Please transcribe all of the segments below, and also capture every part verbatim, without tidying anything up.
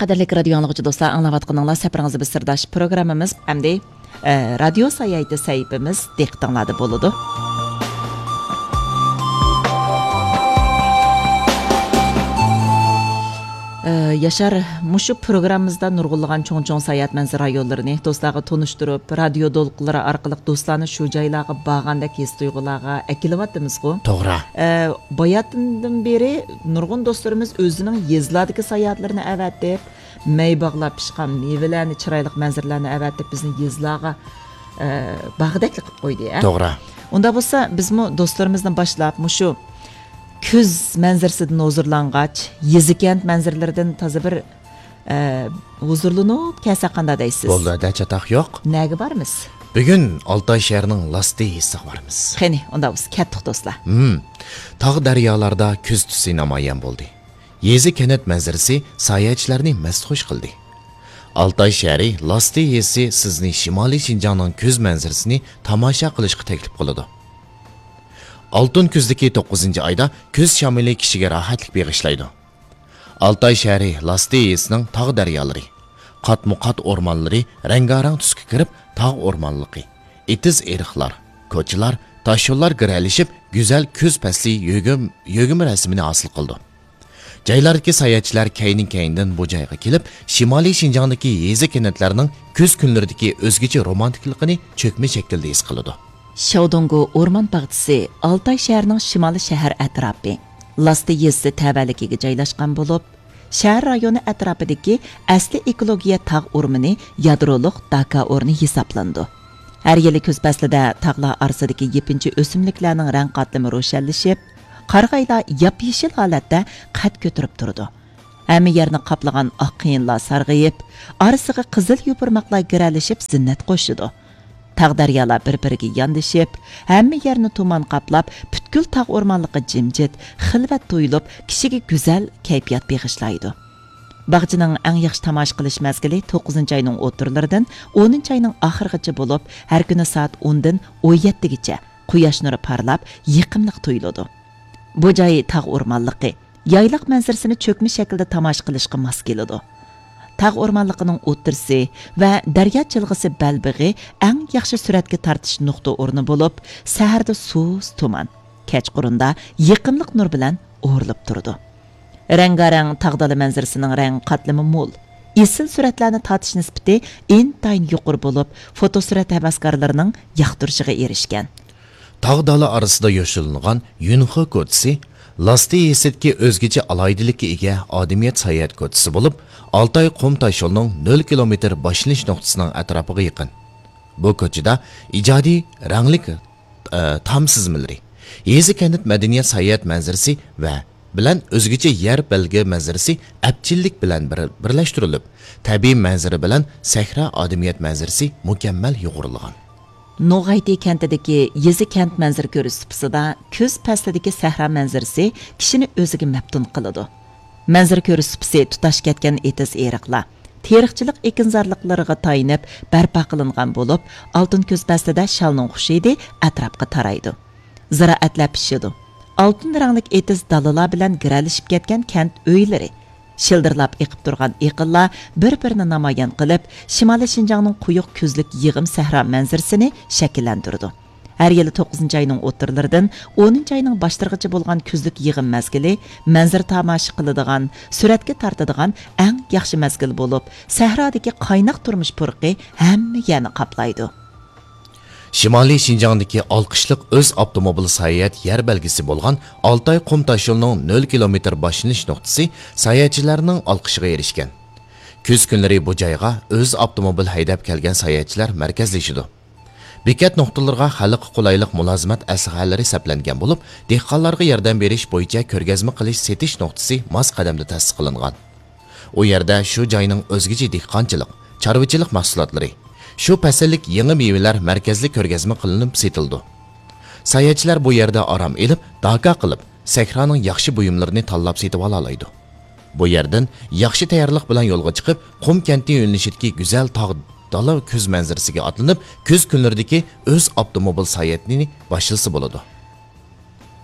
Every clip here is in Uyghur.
قەدىرلىك رادىيو ئاڭلىغۇچى دوستلار، ئاڭلاۋاتقىنىڭلار سەپىرىڭىزدە بىز سىرداش پروگراممىمىز ئەمدى، ئە، رادىيو ساياھىتى سەھىپىمىز دىققىتىڭلاردا بولىدۇ. ئە، ياشار، مۇشۇ پروگراممىمىزدا نۇرغۇنلىغان چوڭ-چوڭ ساياھەت مەنزىرە رايونلىرىنى دوستلارغا تونۇشتۇرۇپ، رادىيو دولقۇنلىرى ئارقىلىق دوستلارنى شۇ جايلارغا بارغاندەك ھېس-تۇيغۇلارغا ئەكېلىۋاتىمىزغۇ. توغرا. ئە، باياتىندىن بېرى نۇرغۇن دوستلىرىمىز ئۆزىنىڭ يېزىلاردىكى ساياھەتلىرىنى ئەۋەتىپ، مەي باغلار پىشقان مېۋىلەرنى، چىرايلىق مەنزىرىلەرنى ئەۋەتىپ، بىزنى يېزىلارغا، ئە، بارغۇدەكلا قىلىپ قويدى، ئە؟ توغرا. ئۇنداق بولسا، بىزمۇ دوستلىرىمىزنى باشلاپ، مۇشۇ كۈز مەنزىرىسىدىن ھۇزۇرلانغاچ، يېزا-كەنت مەنزىرىلىرىدىن تازا بىر، ئە، ھۇزۇرلىنىپ كەلسەك قانداق دەيسىز؟ بولدى، ھەدە چاتاق يوق. نەگە بارىمىز؟ بۈگۈن ئالتاي شەھىرىنىڭ لاستى يېزىسىغا بارىمىز. قېنى، ئۇنداق بولسا كەتتۇق، دوستلار. ھىم. تاغ دەريالاردا كۈز تۈسى نامايان بولدى. يېزا-كەنت مەنزىرىسى ساياھەتچىلەرنى مەستخۇش قىلدى. ئالتاي شەھىرى لاستى يېزىسى سىزنى شىمالىي شىنجاڭنىڭ كۈز مەنزىرىسىنى تاماشا قىلىشقا تەكلىپ قىلىدۇ. ئالتۇن كۈزدىكى توققۇزىنچى ئايدا كۈز شامىلى كىشىگە راھەتلىك بېغىشلايدۇ. ئالتاي شەھىرى لاستى يېزىسىنىڭ تاغ دەريالىرى، قاتمۇ قات ئورمانلىرى رەڭگارەڭ تۈسكە كىرىپ، تاغ ئورمانلىقى، ئېتىز-ئېرىقلار، كوچىلار، تاشيوللار گىرەلىشىپ، گۈزەل كۈز پەسلى يۆگىمە، يۆگىمە رەسىمىنى ھاسىل قىلىدۇ. جايلاردىكى ساياھەتچىلەر كەينى-كەينىدىن بۇ جايغا كېلىپ، شىمالىي شىنجاڭدىكى يېزا-كەنتلەرنىڭ كۈز كۈنلىرىدىكى ئۆزگىچە رومانتىكىلىقىنى چۆكمە شەكىلدە ھېس قىلىدۇ. شياۋدۇڭگو ئورمان باغچىسى ئالتاي شەھىرىنىڭ شىمالىي شەھەر ئەتراپى، لاستى يېزىسى تەۋەلىكىگە جايلاشقان بولۇپ، شەھەر رايونى ئەتراپىدىكى ئەسلىي ئېكولوگىيە تاغ ئورمىنى يادرولۇق داكا ئورنى ھېسابلىنىدۇ. ھەر يىلى كۈز پەسلىدە تاغلار ئارىسىدىكى يېپىنچا ئۆسۈملۈكلەرنىڭ رەڭ قاتلىمى روشەنلىشىپ، قارىغايلار ياپيېشىل ھالەتتە قەد كۆتۈرۈپ تۇرىدۇ. ھەممە يەرنى قاپلىغان ئاق قېيىنلار سارغىيىپ، ئارىسىغا قىزىل يوپۇرماقلار گىرەلىشىپ زىننەت قوشىدۇ. تاغ دەريالار بىر-بىرىگە ياندىشىپ، ھەممە يەرنى تۇمان قاپلاپ، پۈتكۈل تاغ ئورمانلىقى جىمجىت، خىلۋەت تۇيۇلۇپ، كىشىگە گۈزەل كەيپىيات بېغىشلايدۇ. باغچىنىڭ ئەڭ ياخشى تاماشا قىلىش مەزگىلى توققۇزىنچى ئاينىڭ ئوتتۇرىلىرىدىن ئونىنچى ئاينىڭ ئاخىرىغىچە بولۇپ، ھەر كۈنى سائەت ئوندىن ئون يەتتىگىچە قۇياش نۇرى پارلاپ، يېقىملىق تۇيۇلىدۇ. بۇ جاي تاغ ئورمانلىقى، يايلاق مەنزىرىسىنى چۆكمە شەكىلدە تاماشا قىلىشقا ماس كېلىدۇ. تاغ ئورمانلىقىنىڭ ئوتتۇرىسى ۋە دەريا جىلغىسى بەلبېغى ئەڭ ياخشى سۈرەتكە تارتىش نۇقتا ئورنى بولۇپ، سەھەردە سۇس تۇمان، كەچقۇرۇندا يېقىملىق نۇر بىلەن ئورىلىپ تۇرىدۇ. رەڭگارەڭ تاغ دالا مەنزىرىسىنىڭ رەڭ قاتلىمى مول، ئېسىل سۈرەتلەرنى تارتىش نىسبىتى ئىنتايىن يۇقىرى بولۇپ، فوتوسۈرەت ھەۋەسكارلىرىنىڭ ياقتۇرۇشىغا ئېرىشكەن. تاغ دالا ئارىسىدا يوشۇرۇنغان يۈنخې كوچىسى لاستى يېزىسىدىكى ئۆزگىچە ئالاھىدىلىككە ئىگە ئادىمىيەت ساياھەت كوچىسى بولۇپ، ئالتاي قۇم تاشيولىنىڭ نۆل كىلومېتىر باشلىنىش نۇقتىسىنىڭ ئەتراپىغا يېقىن. بۇ كوچىدا ئىجادىي رەڭلىك، ئە، تام سىزمىلىرى، يېزا كەنت مەدەنىيەت ساياھەت مەنزىرىسى ۋە بىلەن ئۆزگىچە يەر بەلگە مەنزىرىسى ئەپچىللىك بىلەن بىر، بىرلەشتۈرۈلۈپ، تەبىئىي مەنزىرە بىلەن سەھرا ئادىمىيەت مەنزىرىسى مۇكەممەل يۇغۇرۇلغان. نوغايتى كەنتىدىكى يېزا كەنت مەنزىرە كۆرۈش سۇپىسىدا كۈز پەسلىدىكى سەھرا مەنزىرىسى كىشىنى ئۆزىگە مەپتۇن قىلىدۇ. مەنزىرە كۆرۈش سۇپىسى تۇتاش كەتكەن ئېتىز-ئېرىقلار، تېرىقچىلىق ئېكىنزارلىقلىرىغا تايىنىپ بەرپا قىلىنغان بولۇپ، ئالتۇن كۈز پەسلىدە شالنىڭ خۇش ھىدى ئەتراپقا تارايدۇ. زىرائەتلەر پىشىدۇ. ئالتۇن رەڭلىك ئېتىز دالىلار بىلەن گىرەلىشىپ كەتكەن كەنت ئۆيلىرى، شىلدىرلاپ ئېقىپ تۇرغان ئېقىنلار بىر-بىرىنى نامايان قىلىپ، شىمالىي شىنجاڭنىڭ قويۇق كۈزلۈك يىغىم سەھرا مەنزىرىسىنى شەكىللەندۈرىدۇ. ھەر يىلى توققۇزىنچى ئاينىڭ ئوتتۇرىلىرىدىن ئونىنچى ئاينىڭ باشلىرىغىچە بولغان كۈزلۈك يىغىم مەزگىلى مەنزىرە تاماشا قىلىدىغان، سۈرەتكە تارتىدىغان ئەڭ ياخشى مەزگىل بولۇپ، سەھرادىكى قايناق تۇرمۇش پۇرىقى ھەممە يەرنى قاپلايدۇ. شىمالىي شىنجاڭدىكى ئالقىشلىق ئۆز ئاپتوموبىل ساياھەت يەر بەلگىسى بولغان ئالتاي قۇم تاشيولىنىڭ نۆل كىلومېتىر باشلىنىش نۇقتىسى ساياھەتچىلەرنىڭ ئالقىشىغا ئېرىشكەن. كۈز كۈنلىرى بۇ جايغا ئۆز ئاپتوموبىل ھەيدەپ كەلگەن ساياھەتچىلەر مەركەزلىشىدۇ. بېكەت نۇقتىلىرىغا خەلققە قولايلىق مۇلازىمەت ئەسلىھەلىرى سەپلەنگەن بولۇپ، دېھقانلارغا ياردەم بېرىش بويىچە كۆرگەزمە قىلىش سېتىش نۇقتىسى ماس قەدەمدە تەسىس قىلىنغان. ئۇ يەردە شۇ جاينىڭ ئۆزگىچە دېھقانچىلىق، چارۋىچىلىق مەھسۇلاتلىرى، شۇ پەسىللىك يېڭى مېۋىلەر مەركەزلىك كۆرگەزمە قىلىنىپ سېتىلىدۇ. ساياھەتچىلەر بۇ يەردە ئارام ئېلىپ، داكا قىلىپ، سەھرانىڭ ياخشى بۇيۇملىرىنى تاللاپ سېتىۋالالايدۇ. بۇ يەردىن ياخشى تەييارلىق بىلەن يولغا چىقىپ، قۇم كەنتى يۆنىلىشىدىكى گۈزەل تاغ دالا كۈز مەنزىرىسىگە ئاتلىنىپ، كۈز كۈنلىرىدىكى ئۆز ئاپتوموبىل ساياھىتىنى باشلىسا بولىدۇ.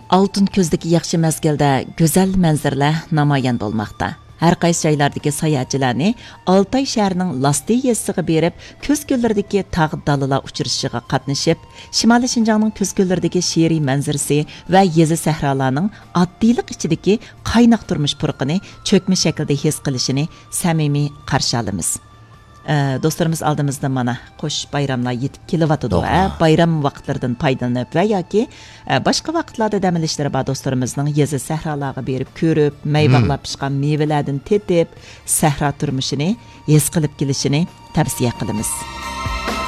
ئالتۇن كۈزدىكى ياخشى مەزگىلدە گۈزەل مەنزىرىلەر نامايان بولماقتا. ھەر قايسى جايلاردىكى ساياھەتچىلەرنى ئالتاي شەھىرىنىڭ لاستى يېزىسىغا بېرىپ، كۈز كۈنلىرىدىكى تاغ دالىلار ئۇچرىشىشىغا قاتنىشىپ، شىمالىي شىنجاڭنىڭ كۈز كۈنلىرىدىكى شېئىرىي مەنزىرىسى ۋە يېزا سەھرالارنىڭ ئاددىيلىق ئىچىدىكى قايناق تۇرمۇش پۇرىقىنى چۆكمە شەكىلدە ھېس قىلىشىنى سەمىمىي قارشى ئالىمىز. ئە، دوستلىرىمىز ئالدىمىزدا مانا قوش بايراملار يېتىپ كېلىۋاتىدۇ. ئە، بايرام ۋاقىتلىرىدىن پايدىلىنىپ ۋە ياكى، ئە، باشقا ۋاقىتلاردا دەم ئېلىشلىرى بار دوستلىرىمىزنىڭ يېزا سەھرالارغا بېرىپ كۆرۈپ، مەي باغلاپ پىشقان مېۋىلەردىن تېتىپ، سەھرا تۇرمۇشىنى ھېس قىلىپ كېلىشىنى تەۋسىيە قىلىمىز.